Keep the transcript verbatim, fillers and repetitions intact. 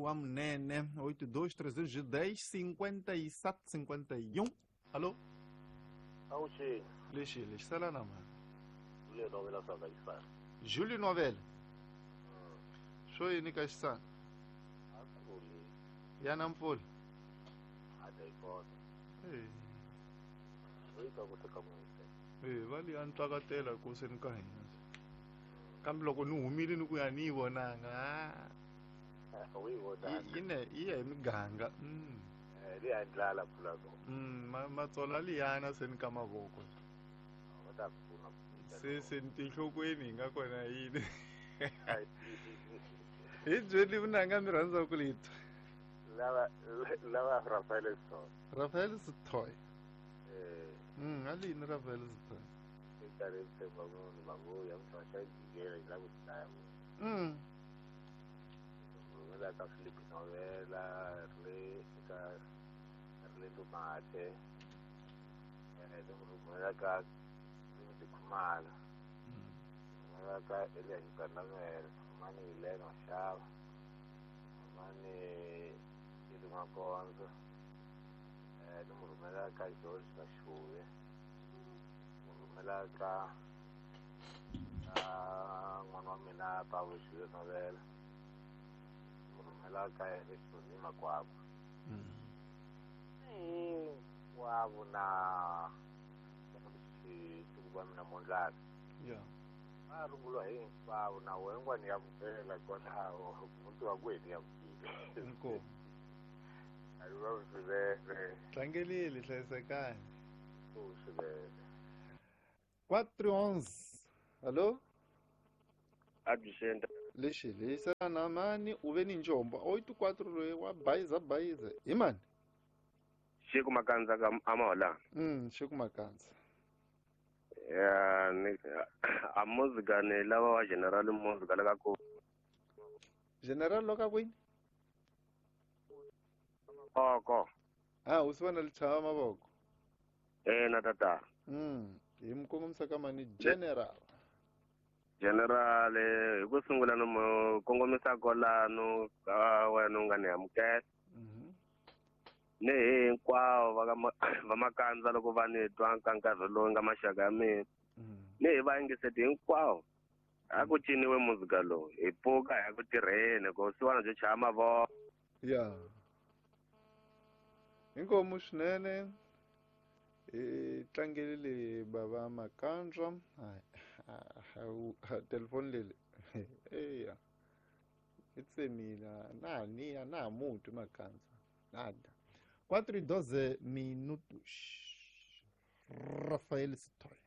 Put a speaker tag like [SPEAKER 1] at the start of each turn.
[SPEAKER 1] wa Munene oito dois trezentos e dez cinquenta e sete cinquenta e um. Alô?
[SPEAKER 2] Awuxini.
[SPEAKER 1] Lexi lexi sala na mani.
[SPEAKER 2] Júlio Novela swa ka Xisana.
[SPEAKER 1] Júlio Novela. Swo yini ka Xisana?
[SPEAKER 2] A kuli.
[SPEAKER 1] Ya na mpfula.
[SPEAKER 2] A ta yi kota.
[SPEAKER 1] Eh.
[SPEAKER 2] Yi ta ku fika n'wise.
[SPEAKER 1] Eh, va li ya ntswakatela ku seni ka hina. Kambe loko ni humile ni ku ya ni yi vonanga.
[SPEAKER 2] U yi vonanga.
[SPEAKER 1] Yi ne yi ya hi miganga. Mm.
[SPEAKER 2] Eh, li ya ndlala mpfula ko.
[SPEAKER 1] Mm, matsola liyana seni ka mavoko.
[SPEAKER 2] Va ta pfuna.
[SPEAKER 1] Se se tinhlokweni hi nga kona yini. Hi byeli vunanga mi rhandza ku litwa.
[SPEAKER 2] Lava lava Rafael Sithole.
[SPEAKER 1] Rafael Sithole.
[SPEAKER 2] Eh.
[SPEAKER 1] Mm, alini Rafael Sithole.
[SPEAKER 2] Nkarhi tshemba munhu va ngo ya mutwa xa jikela yi lava ku dlaya munhu.
[SPEAKER 1] Mm.
[SPEAKER 2] Rhumela ka Philip Novela, ri ka Rilendo Mate. Eh, ni rhumela ka Limiti Khumalo.
[SPEAKER 1] Mm.
[SPEAKER 2] Rhumela ka Elias Gandamela, mani Helena Mashava. Mani Ili Makonzo. Eh, ni rhumela ka George Kashuve. Rhumela ka ka n'wana wa mina Pawulo Júlio Novela. Rhumela ka Exoni Makwakwa.
[SPEAKER 1] Mm.
[SPEAKER 2] Hinkwavo na xituku va mina Mondlana.
[SPEAKER 1] Yeah.
[SPEAKER 2] Va rungula hinkwavo na wena ngwani ya vupela kwalaho muti wa kwenu ya vukile.
[SPEAKER 1] Inkomu.
[SPEAKER 2] A ri va swinene.
[SPEAKER 1] Tlangelile hlayisekani.
[SPEAKER 2] U swinene.
[SPEAKER 1] Quatro onze. Alô?
[SPEAKER 3] Absent.
[SPEAKER 1] Lexi lexi na mani u ve ni njombo oito quatro loyi wa bayiza bayiza hi mani?
[SPEAKER 3] Xiku Makandza ka Amahola.
[SPEAKER 1] Mm, Xiku Makandza.
[SPEAKER 3] Ya ni a muzika ni lava wa General muzika la ka ku.
[SPEAKER 1] General loka kwini?
[SPEAKER 3] Oko.
[SPEAKER 1] Ah, u sivana lichava mavoko.
[SPEAKER 3] Eh na tata.
[SPEAKER 1] Mm, hi mi kongomisa ka mani General.
[SPEAKER 3] General hi ku sungula no mo kongomisa kwalano ka wena u nga ni amukela.
[SPEAKER 1] Mhm.
[SPEAKER 3] Ni hinkwavo va ka va Makandza loko va ni twa ka nkarhi lowu nga maxaka ya mina.
[SPEAKER 1] Mm.
[SPEAKER 3] Ni hi vayingiseti hinkwavo. A ku ciniwe muzika lowu hi pfuka hi ya ku tirheni ku siwana byo chaya mavoko.
[SPEAKER 1] Ya. Inkomu swinene. Hi tlangelile bava Makandza. Hayi telefoni leli. Eya. I tsemile na ha ni a na ha mu twi Makandza. Nada. Quatro e doze minutos. Rafael Sithole.